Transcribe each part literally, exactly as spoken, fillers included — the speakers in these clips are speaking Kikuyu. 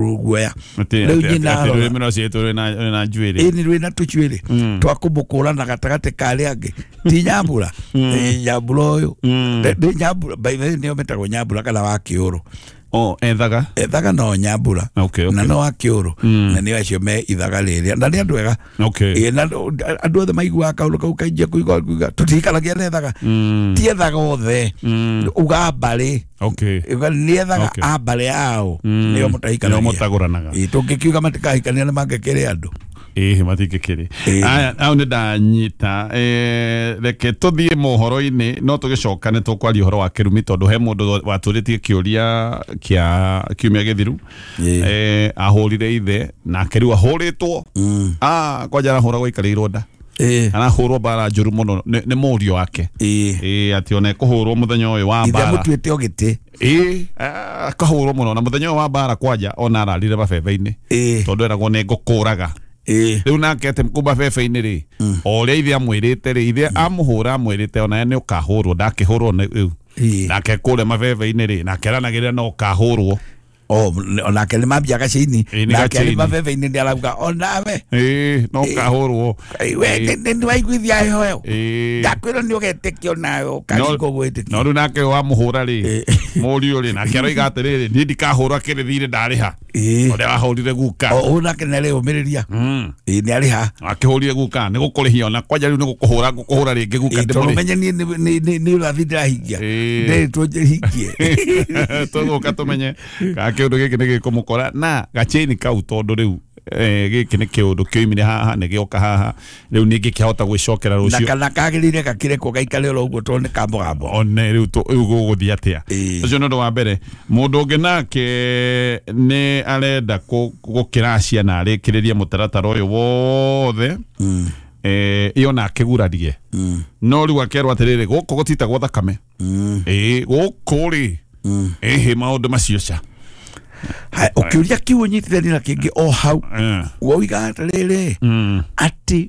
Ruguoya Atĩ- Rĩu atĩ- nyina atĩ arora. rũrĩmĩ rwa ciĩtũ rwĩna rwĩna njuĩrĩ. Ĩni rwĩna tũcuĩrĩ twa kũmũkũra na gatagatĩ ka arĩa angĩ ti Nyambura. Ĩ, Nyambura ũyũ Nĩ- nĩ Nyambura, by the way, nĩo metagwo Nyambura kana wa kĩũrũ. Oh, ethaga. Ethaga no Nyambura. Okay, okay. Na no wa kĩũrũ na nĩo acio me ithaga rĩrĩa na nĩ andũ ega. Okay. Ĩ, na andũ andũ othe maiguaga kaũndũ kau kainjia kũigua kuiga tũtikaragia na ethaga ti ethaga othe uga mbarĩ. Okay. Uga nĩ ethaga Okay. a mbarĩ yao nĩo mũtahikanagia. Nĩo mũtagũranaga. Ĩ, tũngĩkiuga matikahikania nĩ mangĩkĩrĩ andũ. Ĩhĩ, matingĩkĩrĩ. Ĩĩ. Aya, hau nĩ ndanyita. Eh, reke tũthiĩ mohoro-inĩ, no tũgĩcoka nĩ tũkwaria ũhoro wa kĩrumi tondũ he mũndũ watũrĩtie kĩũria kĩa kiumia gĩthiru. Ĩĩ. Eh, ahũrire ithe nake rĩu ahũrĩtwo. Ah, kwanja arahũragwo aikarĩirwo nda. Ĩ. Arahũrwo mbara njũru mũno nĩ nĩ mũriũ wake. Ĩ. Ĩĩ, atĩ ona ekũhũrwo mũthenya ũyũ wa Ithe mbara. mũtuĩte o gĩtĩ. Ĩĩ, ah, akahũrwo mũno na mũthenya ũyũ wa mbara kwanja ona ararire mabebe-inĩ. Ĩĩ. Tondũ eragwo nĩ ngũkũraga. Ĩ. Rĩu nake atĩ kũ mabebe-inĩ rĩ, o ũrĩa ithe amwĩrĩte rĩ, ithe amũhũra amwĩrĩte onawe nĩ ũkahũrwo, ndakĩhũrwo nĩ rĩu. Ĩĩ. Nake kũrĩa mabebe-inĩ rĩ, nake aranagĩrĩra no ũkahũrwo. O onake nĩ mambia gaciini. Ĩĩ, nĩ Nake arĩ gaciini. mabebe-inĩ nĩ arauga onawe. Ĩĩ, no ũkahũrwo. We Ĩĩ. nĩ waiguithia heho ĩyo. Ĩĩ. Ndakwĩrwo nĩ ũgetĩkio nawe ũkaringwo gwĩtĩkio. No rĩu nake wamũhũra rĩ, Ĩĩ. mũriũ rĩ, nake aroiga atĩrĩrĩ, niĩ ndikahũrwo akĩrĩ thirĩ ndarĩha. Ĩĩ. Ũrĩa wahũrire guka. O ũyũ nake nĩ arĩũmĩrĩria. Mm. Ĩ, nĩ arĩha. Akĩhũrire guka nĩ gũkũrĩhia ona kwanja rĩu nĩ gũkũhũra ngũkũhũra rĩngĩ guka Ĩ, tondũ ndĩmũrĩhe. menye niĩ nĩ- nĩ- nĩ nĩ ũrathi ndĩrahingia. Ĩĩ. Ndĩrĩtwo hingie. Tũgũka tũmenye kana kĩũndũ gĩkĩ nĩ gĩkũmũkora na gacheni kau tondũ rĩu eh, gĩkĩ nĩ kĩũndũ kĩoimire haha nĩ gĩoka haha rĩu ningĩ kĩahota gwĩcokera Na rũciũ. kana kagĩrĩire gakĩrekwo gaikare oro ũguo tondũ nĩ ka mũgambo. One rĩu tũ- rĩu gũgũthiĩ atĩa. Ĩĩ. Ũcio nĩ ũndũ wa mbere. Mũndũ ũngĩ nake nĩ arenda kũ- gũkĩracia na arĩkĩrĩrie mũtaratara ũyũ wothe, eh, ĩyo na akĩgurarie, no rĩu akerwo atĩrĩrĩ, gũkũ gũtitagwo thakame. Ĩĩ, gũkũ rĩ, ĩhĩ, maũndũ macio ca. Haya, ũkĩũria kiu ũnyitithanie na kĩngĩ o hau. Eh. Woiga atĩrĩrĩ atĩ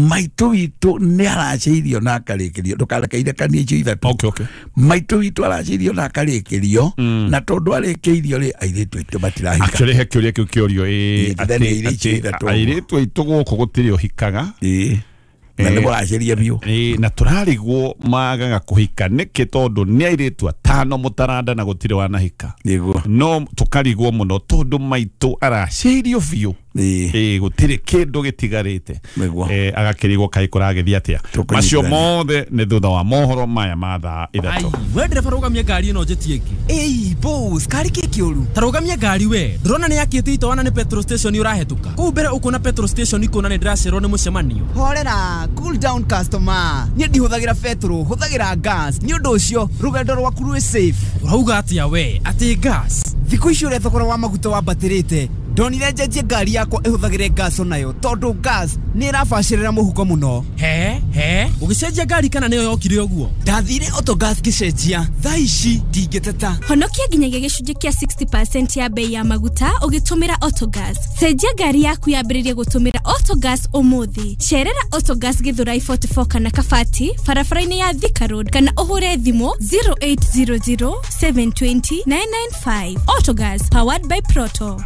maitũ witũ nĩ aracĩirio na akarĩkĩrio, ndũkareke icio ithatũ. okay okay Maitũ witũ aracĩirio na akarĩkĩrio, na tondũ arĩkĩirio rĩ, airĩtu aitũ matirahika. Actually he kĩũria kĩu kĩũrio ĩĩ, Ĩĩ, then atĩ- airĩtu atĩ ithatũ. Airĩtu aitũ gũkũ gũtirĩ ũhikaga. Ĩĩ, na nĩ mũracĩria biũ. Ĩĩ, na tũrarigwo magaga kũhika nĩkĩ tondũ nĩ airĩtu atano mũtaranda na gũtirĩ wanahika. Nĩguo. No tũkarigwo mũno tondũ maitũ aracĩirio biũ. Ĩĩ. Ĩĩ, gũtirĩ kĩndũ gĩtigarĩte. Nĩguo. Eh, agakĩrigwo kaĩ kũragĩthiĩ atĩa. Tũkũnyitithania. Macio mothe nĩ thutha wa mohoro maya ma thaa ithatũ. Ai, we ndereba, rũgamia ngari ĩno njĩtie ĩngĩ. Ĩi boss, kari kĩ kĩũru? Ta rũgamia ngari we, ndũrona nĩ yakĩte itoana nĩ petrol station ũrahĩtũka kũu mbere, ũkuona petrol station ikũna nĩ ndĩracererwo nĩ mũcemanio. Horera, cool down customer, niĩ ndihũthagĩra betũrũ, hũthagĩra gas, nĩ ũndũ ũcio rũgendo rwaku rwĩ safe. Ũrauga atĩa we, atĩ gas? Thikũ ici ũrĩa thogora wa maguta wambatĩrĩte, ndonire njenjie ngari yakwa ĩhũthagĩre gas onayo tondũ gas nĩ ĩrabacĩrĩra mũhuko mũno. He he, ũgĩcenjia ngari kana nĩyo yokire ũguo? Ndathire Autogas ngĩcenjia, thaa ici ndingĩteta. Honokia nginyagia gĩcunjĩ kĩa sixty percent ya bei ya maguta ũgĩtũmĩra Autogas. Cenjia ngari yaku yambĩrĩrie gũtũmĩra Autogas ũmũthĩ. Cerera Autogas Githurai forty-four kana Kabati barabara-inĩ ya Thika Road kana ũhũre thimũ zero eight zero zero seven two zero nine nine five. Autogas, powered by Proto.